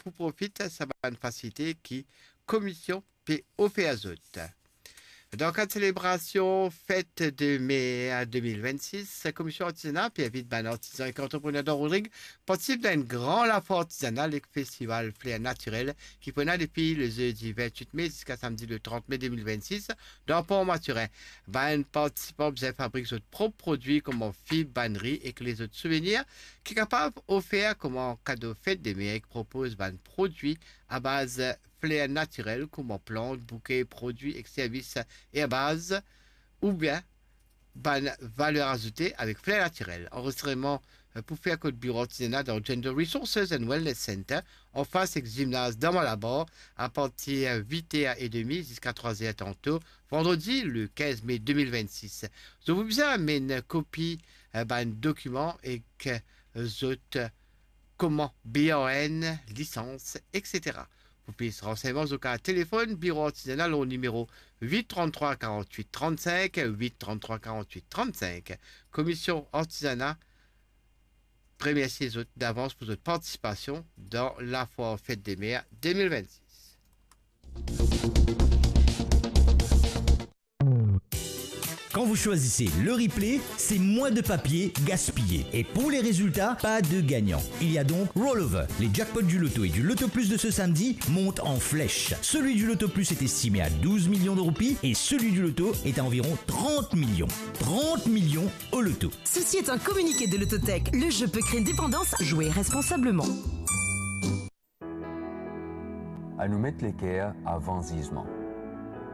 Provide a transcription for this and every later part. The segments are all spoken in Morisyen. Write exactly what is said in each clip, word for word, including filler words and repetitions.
pou profit sa bann fasilite ki komisyon pe ofer zot. Dan kad selebrasion Fête des Mères deux mille vingt-six, Komisyon Artizana pe invit bann artizan ek antreprener dan Rodrig partisip dan enn gran lafwar artizanal ek festival Flair Naturel ki pou ena depi le zedi vintwit me ziska samdi le trant me de mil vennsis dan Port Mathurin. Bann partisipan bizin fabrik zot prop prodwi kouma fib, bann ri ek lezot souvenir ki kapav ofer kouma kado Fête des Mères ek propoz bann prodwi abaz fler natirel kouma plant, bouke, prodwi ek servis erbaz oubien bann valer azoute avek fler natirel. Anrezistreman, eh, pou fer kot Biro Artizana dan Gender Resources and Wellness Center, anfas ek zimnaz Damalabar, apartir vit er edemi ziska trwa er tanto, vandredi le kinz me de mil vennsis. Zot pou bizin amenn kopi, eh, bann dokiman ek, eh, zot, eh, koman B A N, lisans, et cetera. Pou plis ransegnman, zot kav telefonn Biro Artizana lor nimero vit trant-trwa karant-wit trant-sink, vit trant-trwa karant-wit trant-sink. Komisyon Artizana remersie zot davans pou zot partisipasion dan lafwar Fête des Mères de mil vennsis. Quand vous choisissez le replay, c'est moins de papier gaspillé. Et pour les résultats, pas de gagnant. Il y a donc rollover. Les jackpots du loto et du loto plus de ce samedi montent en flèche. Celui du loto plus est estimé à douze millions de roupies et celui du loto est à environ trente millions. Trente millions au loto. Ceci est un communiqué de Lototech. Le jeu peut créer une dépendance. Jouez responsablement. Anou met leker avan zizman.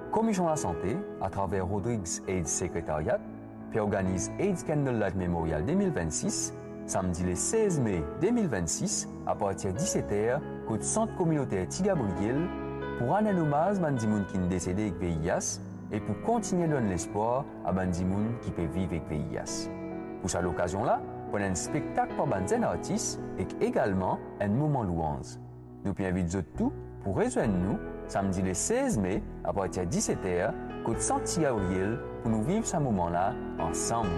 Komisyon Lasante, atraver Rodrigues AIDS Secretariat, pe organiz AIDS Candlelight Memorial de mil vennsis, samdi le sez me de mil vennsis, apartir diset er, kot Sant Kominoter Ti Gabriel, pou rann enn omaz bann dimoun ki'nn desede ek V I H e pou kontigne donn lespwar a bann dimoun ki pe viv ek V I H. Pou sa lokazion la, pou ena enn spektak par bann zenn artis ek egalman enn moman lwanz. Nou pe invit zot tou pou rezwenn nou samdi le sez me, apartir diset er, kot Sant Ti Gabriel, pou nou viv sa moman la ansam.